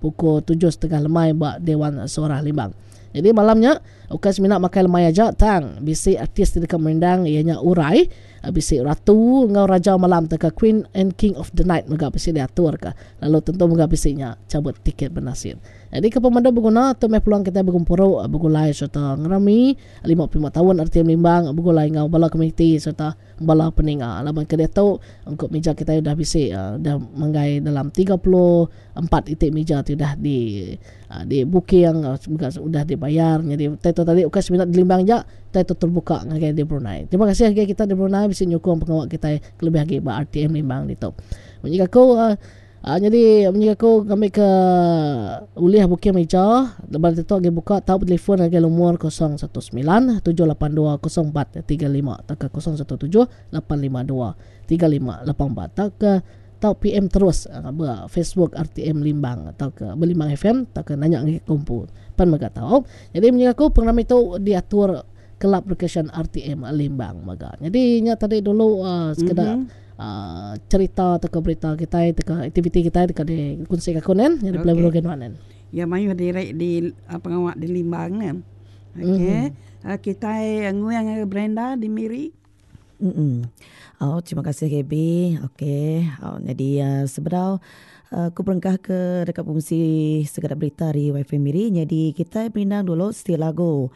Pukul 7:30 lemai ba Dewan Suarah Limbang. Jadi malam nya ukai semina makai lemai aja tang bisi artis ti deka merindang iya nya Urai, bisi Ratu enggau Raja Malam tauka Queen and King of the Night mega bisi diatur ka lalu tentu mega bisi nya chabut tiket benasit. Jadi ke pemadu beguna tu meh peluang kitai begempuru begulai sereta ngerami 55 taun RTM Limbang begulai enggau bala komuniti sereta bala peninga laban ke diatu ungkup mija kitai udah bisi udah manggai dalam 34 iti mija ti udah di di booking mega udah dibayar nyadi utai tu tadi ukai semina di Limbang aja utai tu terbuka ngagai di Brunei. Terima kasih ngagai kita di Brunei bisi nyukung pengawa kitai kelebih agi ba RTM Limbang ditu. Munyi aku Nyadi munyi aku ngambi ke ulih booking mija laban ditu agi buka tau betelefon ngagai lumur 019 782 0435 tauka 017 852 3584 tauka tau PM terus ba Facebook RTM Limbang tauka ba Limbang FM tauka nanya ngagai aku empu pan mega tau. Nyadi munyi aku pengerami tu diatur Kelab Recreation RTM Limbang mega. Nyadi nya tadi dulu sekeda Cherita tauka berita kitai tauka aktiviti kitai deka dikunsika aku nen nyadi pulai baru nuan nen. Ya mayuh diri di pengawa di Limbang nen. Okey kitai nguing ngagai Brenda di Miri. Au terima kasih Gaby. Okey nyadi sebedau Ku berengkah ke deka bungsi sekeda berita ari Wifi Miri nyadi kitai merindang dulu siti lagu.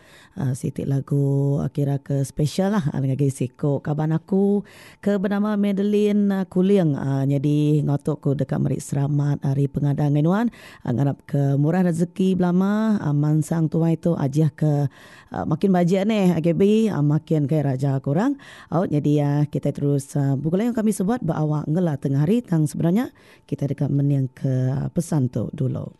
Siti lagu kira ke special lah ngagai siku kaban aku ke benama Madeline Kuling. Nyadi enggau tu ku deka meri selamat hari pengada ngagai nuan ngarap ke murah rezeki belama mansang tuai tu ajih ke Makin bajik neh Gaby makin kai raja ku orang. Au nyadi kitai terus begulai enggau kami sebuat ba awak ngela tengah hari tang sebenar nya kitai deka mening ke pesan tu dulu.